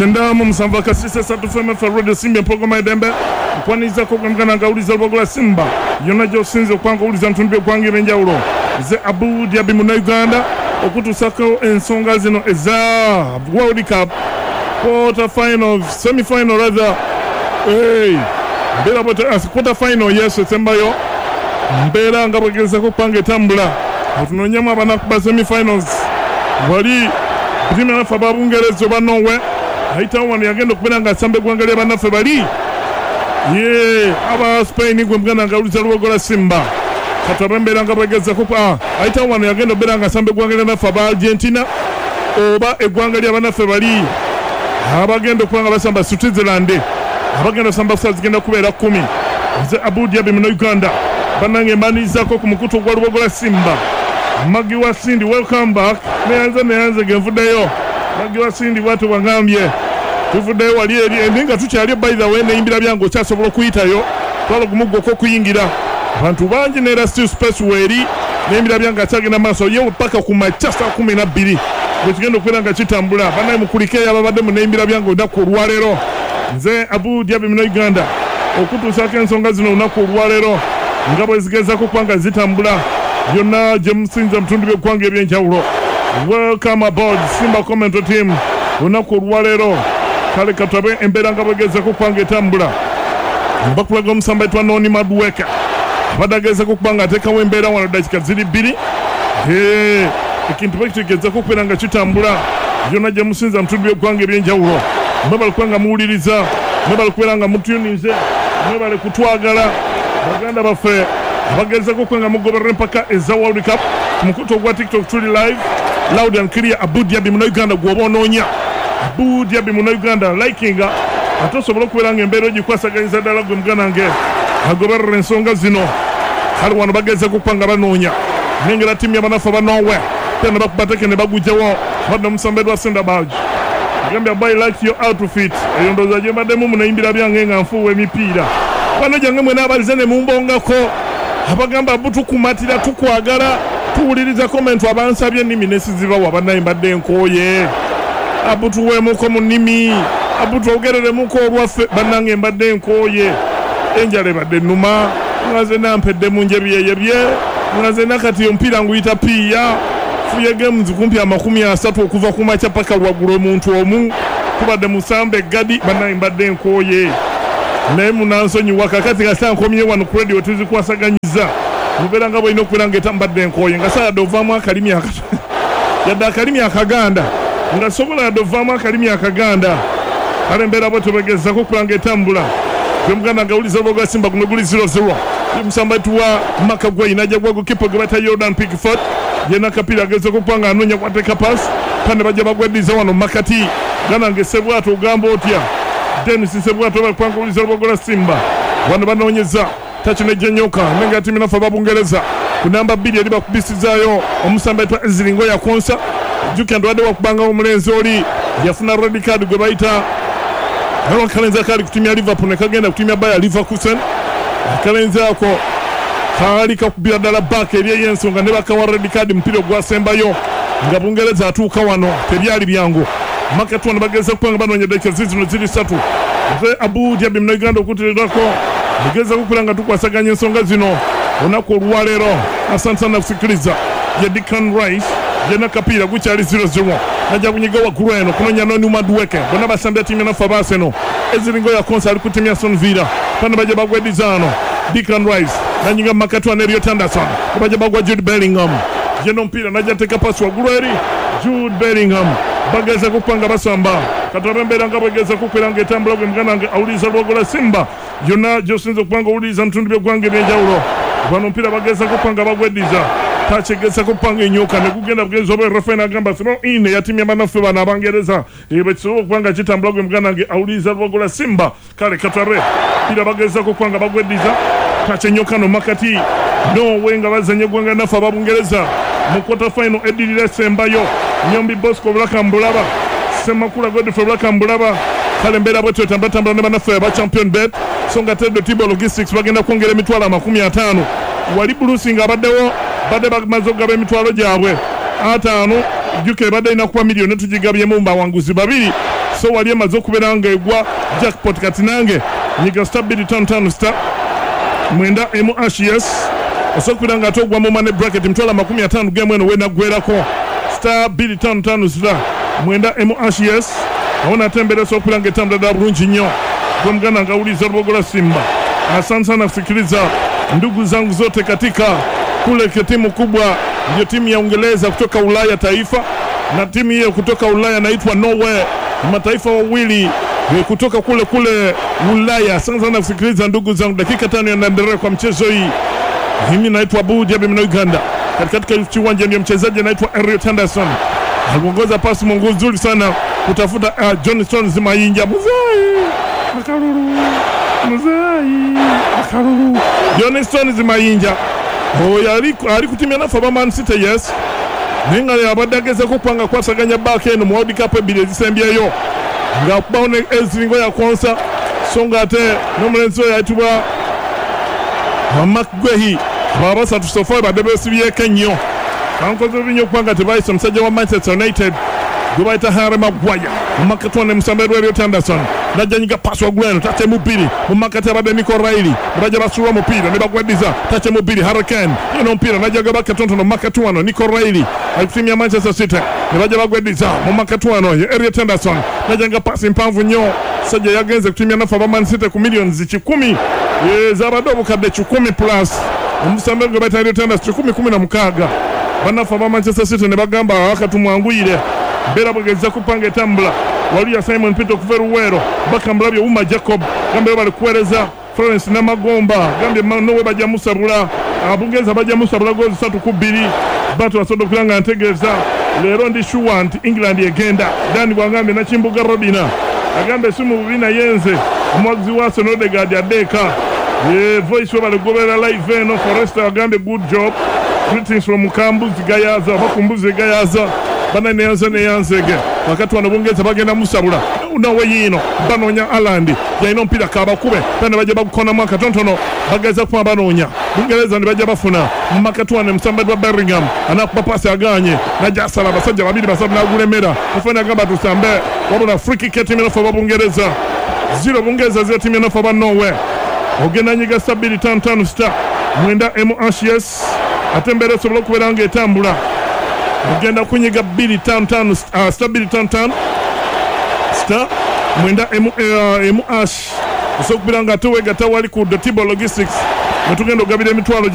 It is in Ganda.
97 akasisa 3 FM FM Radio Simba empologoma y'eddembe. Nkwanirizaako gwe muganda nga awuliza Lubogola Simba yonna gy'osinze okuba nga owuliza mu bitundu by'eggwanga eby'enjawulo. Nze Abu Diaby Munnayuganda okutuusaako ensonga zino eza World Cup quarter final, semi final rather. Hey, mbeera bwete quarter final, yes, esembayo mbeera nga bwegezako okuba nga etambula otunoonyemu abanakuba semi finals. Wali tiimu yaffe aba Bungereza oba Norway ayitawo wano yagenda okubeera nga asamba eggwanga lya bannaffe bali ye aba Spain. Gwe muganda nga awuliza Lubogola Simba, kati embeera nga bwegezako ayitawo wano yagenda okubeera nga asamba eggwanga lya bannaffe aba Argentina oba eggwanga lya bannaffe bali abagenda okuba nga basamba Switzerland, abagenda osamba kusaa zigenda kubeera 10. Nze Abu Diaby Munnayuganda, bannange mbanirizaako ku mukutu ogwa Lubogola Simba. Magi wa Sindi, welcome back. Neyanze, neyanze genvuddeyo. Magi wa Sindi bwatyo bwangambye tuvuddeyo wali eri naye nga tukyali. By the way, neyimbira byange okyasobola okuyitayo twala gumu gwokka okuyingira. Abantu bangi neera still space weeri. Neyimbira byange akyagenda maaso ye paka ku makya saa 12 bwe kigenda okubeera nga kitambula. Bannaye mukulikeeyo ababadde mu neyimbira byange olunaku olwaleero. Nze Abu Diaby Munnayuganda okutuusaako ensonga zino olunaku olwaleero nga bwe zigezaako okuba nga zitambula byonna gye musinza mu bitundu by'eggwanga ebyenjawulo. Welcome aboard Simba Commentary Team olunaku olwaleero. Kale katabe embeera nga bwegezako okuba nga etambula. Bakulaga omusamba etwa Noni Madueke abadde agezako okuba nga ateekawo embeera wano. Dakika ziri 2, ekintu bwekitegeezako okubeera nga kitambula byonna gye musinza mu bitundu by'eggwanga ebyenjawulo. Mwebale kuba nga muwuliriza, mwebale kubeera nga mutuninze, mwebale kutwagala baganda baffe abagezako okuba nga mugoberera empaka eza World Cup. Ku mukutu ogwa TikTok tuli live, loud and clear. Abu Diaby Munnayuganda gwoba onoonya. Abu Diaby Munnayuganda, likinga ate osobole okubeera nga embeera ogikwasaganyiza ddala gwe muganda nge agoberera ensonga zino. Kale wano bagezeko okuba nga banoonya nengera ttiimu y'abanafu aba Norway te ne bakuba teke ne bagugjawo. Badde omusambe lwa Sendabaj gambye, "I like your outfit." Eyo ndowooza gye mbaddemu munayimbira byange nga nfuuwa emipiira bano gyange mwena abalize ne mumbongako abagamba butukumatira tukwagala tuwuliriza comment. Abansabye ennimi nesizibawa, bannaye mbadde nkooye. Abutuweemuko mu nnimi, abutwogereremuko olwaffe. Bannange mbadde nkooye, enjala ebadde ennuma nga nze nampedde mu njebyeyebye nga nze nakati omupiira nguyita piiya. Fuye games kumpi 30 okuva ku makya paka lwaggulo. Omuntu omu tubadde musamba eggadi. Bannange mbadde nkooye naye munansonyiwa. Kakati kasa nkomye wano ku radio tuzikwasaganyiza mubeera nga bwolina okubeera nga etambadde nkooye nga saayadde ovaamu akalimi yadde akalimi akaganda nga sobola yadde ovaamu akalimi akaganda. Kale embeera bwe tebegezako okuba nga etambula gwe muganda nga awuliza olwoga Simba. Guno guli 0-0. Omusamba tuwa Maka Gwe najja gwa gokipa gwe bata Jordan Pickford. Yena akapiira agezeko okuba nga anoonya kwateeka pass pane bajja bagweddiza wano makati. Ganange Sebwato, ogamba otya Denis Sebwato? Bakupanga owuliza Lubogola Simba. Wano banoonyeza takinejjenyoka nenga ttiimu naffe ababungereza ku namba 2 eri bakubisizaayo omusamba etwa Eziringo yakonsa. Jjukira nti wakubanga omulenzi oli yafuna red card gwe bayita akalenzi akaali ku ttiimu ya Liverpool ne kagenda ku ttiimu ya Bayer Leverkusen. Akalenzi ako kaali kakubira ddala baaka eri ey'ensonga ne bakawa red card. Mupiira ogwasembayo nga Bungereza atuuka wano tebyali byangu. Makati wano bageza kuba nga banoonya. Dakika zizino ziri 3. Nze Abu Diaby Munauganda okuteerako mugeza kubeera nga tukwasaganya ensonga zino olunaku olwaleero. Asante sana kusikiliza. Ye Declan Rice yena kapiira gukyali 0-0 najja kunyiga waggulu eno kunonya Noni Madueke. Bonna basambya ttiimu naffe aba Arsenal. Eziringo ya konsa ali ku ttiimu ya Aston Villa. Bano bajja bagweddizaano. Declan Rice nanyiga mumakati wano Elliot Anderson, bajja bagwa Jude Bellingham. Yena omupiira najja teeka pasi waggulu eri Jude Bellingham. Bageza kukuba nga basamba. Katulabe embeera nga bwegeza kukwera nga etambula. Gwe muganda wange awuliriza Lwogola Simba yonna gyosinza okuba nga owuliriza mu bitundu by'eggwanga ebyenjawulo. Bano omupiira bageza kukuba nga bagweddiza takyegezako kupanga enyoka ne gugenda bugenzi oba refa n'agamba throw in eyatimya bannaffe bano Abangereza bwe kisobola okuba nga kitambula. Gwe muganda wange awuliriza Lwogola Simba, kale katulabe pira bagezako okuba nga bagweddiza takyenyoka no makati Norway nga bazanya eggwanga naffe Ababungereza mu quarter final eddirira esembayo. Nyombi Bosco Bulaka mbulaba, Semakula Godfrey Bulaka mbulaba. Kale embeera bwetyo etambulatambula ne bannaffe aba Champion Bet. So nga Tedo Tibo Logistics bagenda kwongera emitwalo 50. Wali Bulusi nga abaddewo badde bamaze okugaba emitwalo gyabwe 50. Jjuka ebadde erina kuba miliyoni, tugigabyemu mu bawanguzi babiri. So wali emaze okubeera nga egwa jackpot. Kati nange nyiga star 255 star 9 emu hash, yes, osobola okubeera nga ate ogwa mu money bracket 250,000 gemu eno wenaggwerako. Star 255 star 9 emu hash, yes, awo nate embeera esobola okubeera nga etambula ddala bulungi nnyo. Gwe muganda nga awuliriza Lubogola Simba, asante sana kusikiliza ndugu zangu zote katika kule. Timu kubwa ndio timu ya Uingereza kutoka Ulaya taifa, na timu hiyo kutoka Ulaya inaitwa Norway, mataifa wawili kutoka kule kule Ulaya. Asante sana kusikiliza ndugu zangu, dakika 5 yanaendelea kwa mchezo hii. Mimi naitwa Abu Jabi na Uganda. Katika kiwanja ndio mchezaji anaitwa Elliot Henderson aliongoza pasi mungu nzuri sana kutafuta John Stones Mayinja. Muzai akalulu, muzai akalulu. John Stones Mayinja oyo ali kutimya nafe aba Man City, yes, naye nga abadde agezeko okubanga kwasaganya baaka eno mu World Cup ebbiri ezisembyeyo ng'akubawo ne eziringo yakonsa, so nga ate n'omulenzi oyo ayitibwa Makgwehi. Abo abasatu so far badde beesibyeko ennyo, bankoze bubi nnyo okubanga tebayise omusajja wa Manchester United gwe bayita Harry Maguire. Mumakati wano emusambe Elliot Anderson najjanyiga pasi waggulu eno takyemu bbiri. Mumakati abadde Nico Riley, ne bajja basuula omupiira ne bagweddiza takyemu bbiri. Harry Kane yena omupiira najjaga bakatonotono. Mumakati wano Nico Riley ali ku ttiimu ya Manchester City, ne bajja bagweddiza. Mumakati wano ye Elliot Anderson najjanga pasi mpanvu nnyo. Sajja yagenze ku ttiimu ya nafe aba Man City ku millions 100 zabadde 100,000 plus. Omusambe gwe bayita Elliot Anderson 116. Bannaffe aba Manchester City ne bagamba wakatumwanguyire mbeera bwegeza kupanga etambula. Waliya Simon Peter okuva eruweero bakamulabye Uma Jacob gambye bali kuweereza. Florence Namagomba gambye nowe bajja musabula. Abungereza bajja musabula gozi 3-2. Bato basobodde okubeera nga ntegeeza leero ndi sure nti England egenda. Dani bwagambye Nakimbuga Robina agambye si mu bubi, naye nze omuwagizi wa Arsenal, Odegaard addeeka. Voice we bali live eno. Forester agambye good job, greetings from Kambuzi Gayaza oba Kumbuzi Gayaza. Bana neyanze neyanzege. Wakati wano Bungereza bagenda musabula nawe yiino banoonya Alandi yalina omupiira kabakube bana bajja bagukonamu akatonotono, bageza kuba banoonya Bungereza ne bajja bafuna. Mumakati wano omusambaji wa Bellingham anakuba pasi aganye, najja asala abasajja babiri basatu nagulemera. Mufani agamba tusambe, wabula free kick ya timu enofu aba Bungereza 0 Bungereza 0 timu enofu aba Norway. Ogenda nyiga star 255 star 9 emu hash, yes, ate embeera esobola okubeera nga etambula. Ogenda kunyiga 255 star 255 star 9 emu hash, osobola okubeera nga ate weegatta wali ku Dotibo Logistics netugenda okugabira emitwalo.